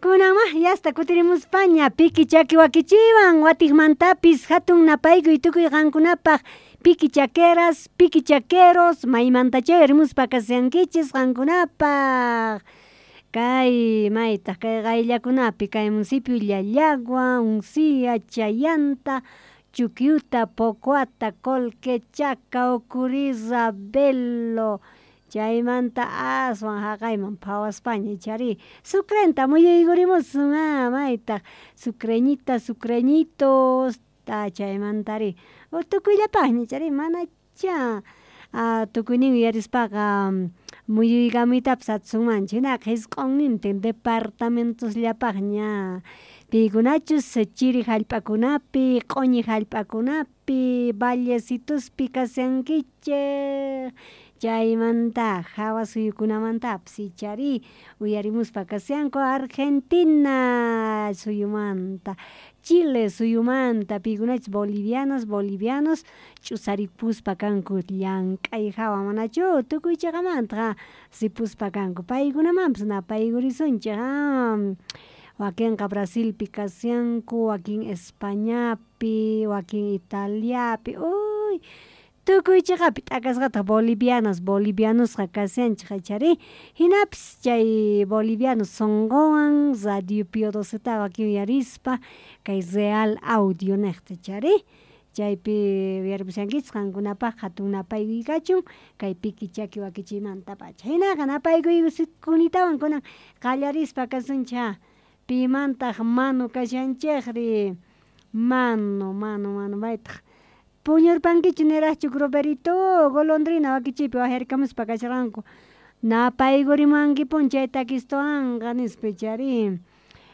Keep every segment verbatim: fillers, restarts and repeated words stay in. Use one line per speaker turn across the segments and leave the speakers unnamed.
Kunan yasta kutirimuspaña piki chaki wakichiwan watiqmantapis hatun napaykuy tukuy qankunapaq piki chaqueras, piki chaqueros maymantachá uyarimuspa kashankichis qankunapaq kay maytaq kay qayllakunapi kay municipio Llallagua, Uncía, Chayanta, Chuquiuta, Pocoata, Colquechaca, Ocurí, Ravelo, chaymanta aswan haqayman phawaspaña ichari Sucrenta muyuykurimusun a maytaq sucreñitas, sucreñitos ta chaymantari tukuyllapaqña ichari manachá a tukuynin uyarispaqa muyuykamuytapas atisunmanchu hinaqa hisq'unnintin departamentosllapaqña piykunachus chiri hallp'akunapi q'uñi hallp'akunapi vallecitospi kashankichik chaymanta hawa suyukunamantapas ichari uyarimuspa kashanku Argentina suyumanta, Chile suyumanta piykunachus bolivianas, bolivianos ch'usaripuspa kanku llank'ay hawa manachu tukuy chiqamanta ripuspa kanku paykunamanpas napaykurisunchik a wakinqa Brasilpi kashanku, wakin Españapi, wakin Italiapi uy tukuy chiqapi t'akasqataq bolivianas, bolivianosqa kashanchik ichari hinapis chay bolivianos sunquwan radio Pio Doceta wakin uyarispa kay Real Audio niqta ichari chaypi uyarimushankichis qankunapaq hatun napaykuy kachun kay piki chaki wakichiymantapacha hinaqa napaykuy kunitawan kunan qallarispa kasunchik pimantaq manu kashanchikri manu manu manu maytaq puñurpankichu niraqchu Groverito golondrina wakichiypi waqharikamuspa kasharqanku napaykurimuwankipuni chay takistuwanqa nispa ichari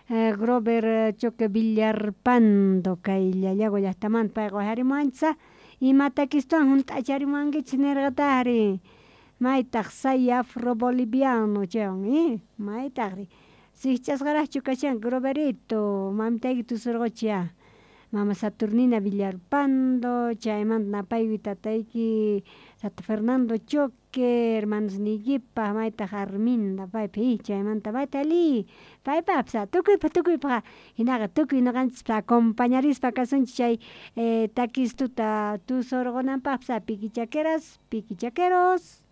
Grover Choque Villarpando kay Llallagua llaqtamanta payqa waqharimuwanchis ima takistuwan hunt'acharimuwankichis nirqataqri maytaq say afro boliviano chaywan i maytaqri sikch'asqaraqchu kashanki Groverito mamitayki tusurquchiy mama Saturnina Villarpando chaymanta napaykuy tatayki tata Fernando Choque hermanosniykipaq maytaq Arminda paypa i chaymanta mayta ali paypapis tukuypaq tukuypaq hinaqa tukuy ñuqanchispa acompañarispa kasunchik chay takistuta tusurqunanpaqpas piqui chaqueras, piqui chaqueros.